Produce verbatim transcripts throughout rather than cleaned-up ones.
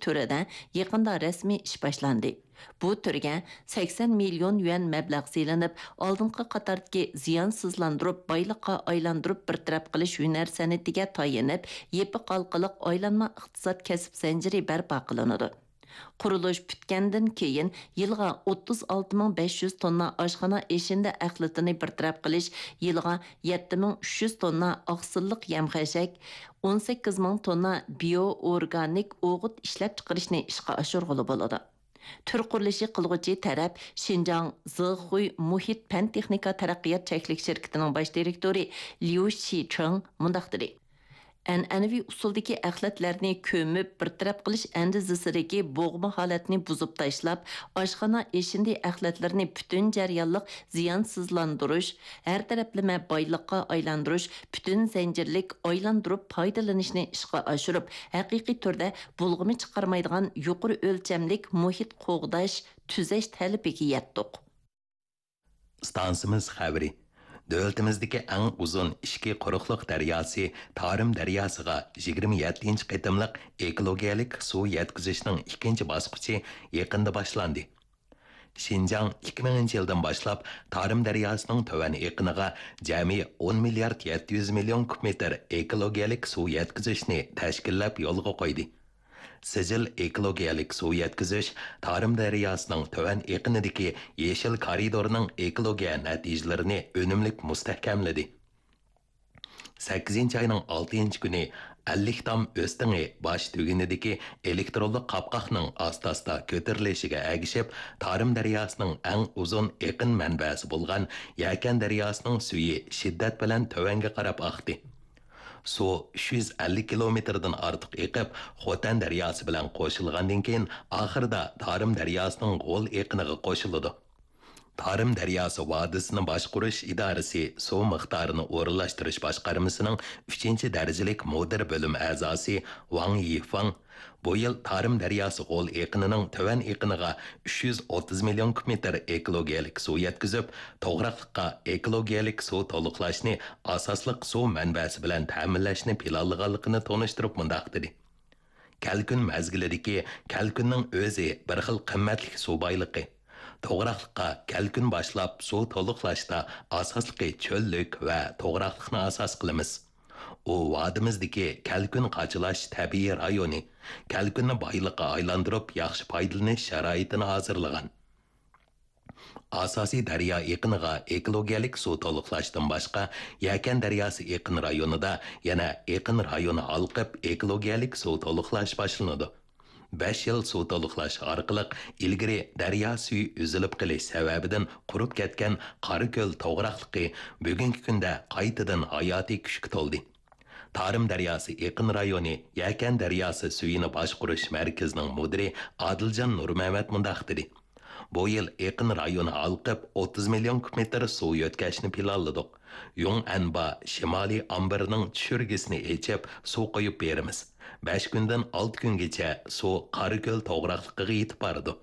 تۈرىدە يېقىندا رەسمىي ئىش باشلاندى. بۇ تۈرگە سەكسەن مىليون يۈەن مەبلەغ سېلىنىپ، ئالدىنقى قاتاردىكى زىيانسىزلاندۇرۇپ، بايلىققا ئايلاندۇرۇپ بىر تەرەپ قىلىش ھۈنەر سەنئىتىگە تايىنىپ، يېپىق ھالقىلىق ئايلانما ئىقتىساد كەسىپ زەنجىرى بەرپا قىلىنىدۇ. قۇرۇلۇش پۈتكەندىن كېيىن، يىلغا ئوتتۇز ئالتە مىڭ بەش يۈز توننا ئاشخانا ئېشىندى ئەخلىتىنى بىر تەرەپ قىلىش، يىلىغا يەتتە مىڭ ئۈچ يۈز توننا ئاقسىللىق يەم-خەشەك، ئون سەككىز مىڭ توننا بىيو ئورگانىك ئوغۇت ئىشلەپچىقىرىشنى ئىشقا ئاشۇرغىلى بولىدۇ. تۈر قۇرۇلۇشى قىلغۇچى تەرەپ شىنجاڭ زېخۇي مۇھىت پەن-تېخنىكا تەرەققىيات چەكلىك شىركىتىنىڭ باش دىرېكتورى ليۇ شىچېڭ مۇنداق دېدى: ئەنئەنىۋى ئۇسۇلدىكى ئەخلەتلەرنى كۆمۈپ بىر تەرەپ قىلىش ئەندىزىسىدىكى بوغما ھالەتنى بۇزۇپ تاشلاپ، ئاشخانا ئېشىندى ئەخلەتلىرىنى پۈتۈن جەريانلىق زىيانسىزلاندۇرۇش، ھەر تەرەپلىمە بايلىققا ئايلاندۇرۇش، پۈتۈن زەنجىرلىك ئايلاندۇرۇپ پايدىلىنىشنى ئىشقا ئاشۇرۇپ، ھەقىقىي تۈردە بۇلغىما چىقارمايدىغان يۇقىرى ئۆلچەملىك مۇھىت قوغداش، تۈزەش تەلىپىگە يەتتۇق. ئىستانسىمىز خەۋىرى. دۆلىتىمىزدىكى ئەڭ ئۇزۇن ئىچكى قۇرۇقلۇق دەرياسى تارىم دەرياسىغا يىگىرمە يەتتىنچى قېتىملىق ئېكولوگىيەلىك سۇ يەتكۈزۈشنىڭ ئىككىنچى باسقۇچى يېقىندا باشلاندى. شىنجاڭ ئىككى مىڭىنچى يىلدىن باشلاپ تارىم دەرياسىنىڭ تۆۋەن ئېقىنىغا جەمئىي ئون مىليارد يەتتە يۈز مىليون كۇب مېتىر ئېكولوگىيەلىك سۇ يەتكۈزۈشنى تەشكىللەپ يولغا قويدى. سىجىل ئېكولوگىيەلىك سۇ يەتكۈزۈش تارىم دەرياسىنىڭ تۆۋەن ئېقىنىدىكى يېشىل كارىدورنىڭ ئېكولوگىيە نەتىجىلىرىنى ئۈنۈملۈك مۇستەھكەملىدى. سەككىزىنچى ئاينىڭ ئالتىنچى كۈنى ئەللىك تام ئۆستىڭى باش تۈگۈنىدىكى ئېلېكترونلۇق قاپقاقنىڭ ئاستا-ئاستا كۆتۈرۈلۈشىگە ئەگىشىپ، تارىم دەرياسىنىڭ ئەڭ ئۇزۇن ئېقىن مەنبەسى بولغان يەكەن دەرياسىنىڭ سۈيى شىددەت بىلەن تۆۋەنگە قاراپ ئاقتى. سۇ ئۈچ يۈز ئەللىك كىلومېتىردىن ئارتۇق ئېقىپ، خوتەن دەرياسى بىلەن قوشۇلغاندىن كېيىن، ئاخىرىدا تارىم دەرياسىنىڭ غول ئېقىنىغا قوشۇلىدۇ. تارىم دەرياسى ۋادىسىنى باشقۇرۇش ئىدارىسى سۇ مىقدارىنى ئورۇنلاشتۇرۇش باشقارمىسىنىڭ ئۈچىنچى دەرىجىلىك مۇدىر بۆلۈم ئەزاسى ۋاڭ يىفېڭ بۇ يىل تارىم دەرياسى غول ئېقىنىنىڭ تۆۋەن ئېقىنىغا ئۈچ يۈز ئوتتۇز مىليون كۇب مېتىر ئېكولوگىيەلىك سۇ يەتكۈزۈپ، توغراقلىققا ئېكولوگىيەلىك سۇ تولۇقلاشنى ئاساسلىق سۇ مەنبەسى بىلەن تەمىنلەشنى پىلانلىغانلىقىنى تونۇشتۇرۇپ مۇنداق دېدى: كەلكۈن مەزگىلىدىكى كەلكۈننىڭ ئۆزى بىر خىل قىممەتلىك سۇ بايلىقى. توغراقلىققا كەلكۈن باشلاپ سۇ تولۇقلاشتا ئاساسلىقى چۆللۈك ۋە توغراقلىقنى ئاساس قىلىمىز. ئۇ ۋادىمىزدىكى كەلكۈن قاچىلاش تەبىئىي رايونى، كەلكۈننى بايلىققا ئايلاندۇرۇپ ياخشى پايدىلىنىش شارائىتىنى ھازىرلىغان. ئاساسىي دەريا ئېقىنىغا ئېكولوگىيەلىك سۇ تولۇقلاشتىن باشقا، يەكەن دەرياسى ئېقىن رايونىدا يەنە ئېقىن رايونى ھالقىپ ئېكولوگىيەلىك سۇ تولۇقلاش باشلىنىدۇ. بەش يىل سۇ تولۇقلاش ئارقىلىق ئىلگىرى دەريا سۈيى ئۈزۈلۈپ قېلىش سەۋەبىدىن قۇرۇپ كەتكەن قاراكۆل توغراقلىقى بۈگۈنكى كۈندە قايتىدىن ھاياتىي كۈچكە تولدى. تارىم دەرياسى ئېقىن رايونى يەكەن دەرياسى سۈيىنى باشقۇرۇش مەركىزىنىڭ مۇدىرى ئادىلجان نۇرمەمەت مۇنداق دېدى: بۇ يىل ئېقىن رايونى ھالقىپ، ئوتتۇز مىليون كۇب مېتىر سۇ يۆتكەشنى پىلانلىدۇق. يۇڭئەنبا شىمالىي ئامبىرىنىڭ چۈشۈرگىسىنى ئېچىپ، سۇ قۇيۇپ بېرىمىز. بەش كۈندىن ئالتە كۈنگىچە سۇ قاراكۆل توغراقلىقىغا يېتىپ بارىدۇ.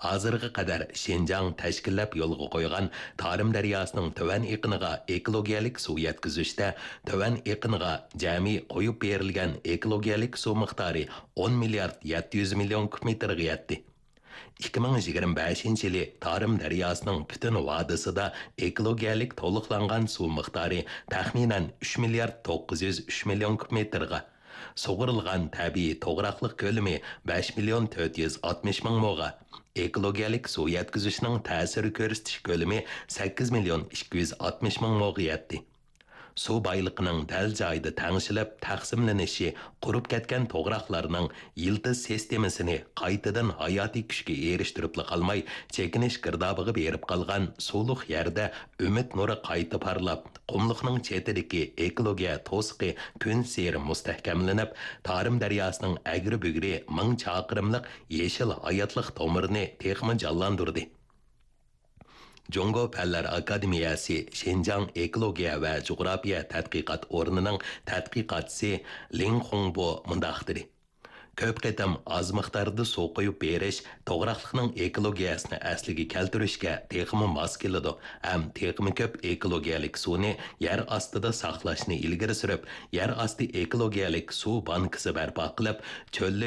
ھازىرغا قەدەر شىنجاڭ تەشكىللەپ يولغا قويغان تارىم دەرياسىنىڭ تۆۋەن ئېقىنىغا ئېكولوگىيەلىك سۇ يەتكۈزۈشتە، تۆۋەن ئېقىنغا جەمئىي قويۇپ بېرىلگەن ئېكولوگىيەلىك سۇ مىقدارى ئون مىليارد يەتتە يۈز مىليون كۇب مېتىرغا يەتتى. ئىككى مىڭ يىگىرمە بەشىنچى يىلى تارىم دەرياسىنىڭ پۈتۈن ۋادىسىدا ئېكولوگىيەلىك تولۇقلانغان سۇ مىقدارى تەخمىنەن ئۈچ مىليارد توققۇز يۈز ئۈچ مىليون كۇب مېتىرغا، سۇغۇرۇلغان تەبىئىي توغراقلىق كۆلىمى بەش مىليون تۆت يۈز ئاتمىش مىڭ موغا، ئېكولوگىيەلىك سۇ يەتكۈزۈشنىڭ تەسىر كۆرسىتىش كۆلىمى سەككىز مىليون ئىككى يۈز ئاتمىش مىڭ موغا يەتتى. سۇ بايلىقىنىڭ دەل جايىدا تەڭشىلىپ تەقسىملىنىشى قۇرۇپ كەتكەن توغراقلارنىڭ يىلتىز سىستېمىسىنى قايتىدىن ھاياتىي كۈچكە ئېرىشتۈرۈپلا قالماي، چېكىنىش گىردابىغا بېرىپ قالغان سۇلۇق يەردە ئۈمىد نۇرى قايتا پارلاپ، قۇملۇقنىڭ چېتىدىكى ئېكولوگىيە توسۇقى كۈنسېرى مۇستەھكەملىنىپ، تارىم دەرياسىنىڭ ئەگرى-بۈگرى مىڭ چاقىرىملىق يېشىل ھاياتلىق تومۇرىنى تېخىمۇ جانلاندۇردى. جۇڭگو پەنلەر ئاكادېمىيەسى شىنجاڭ ئېكولوگىيە ۋە جۇغراپىيە تەتقىقات ئورنىنىڭ تەتقىقاتچىسى لىڭ خۇڭبو مۇنداق دېدى: كۆپ قېتىم ئاز مىقداردا سۇ قۇيۇپ بېرىش توغراقلىقنىڭ ئېكولوگىيەسىنى ئەسلىگە كەلتۈرۈشكە تېخىمۇ ماس كېلىدۇ ھەم تېخىمۇ كۆپ ئېكولوگىيەلىك سۇنى يەر ئاستىدا ساقلاشنى ئىلگىرى سۈرۈپ، يەر ئاستى ئېكولوگىيەلىك سۇ بانكىسى بەرپا قىلىپ، چۆللۈك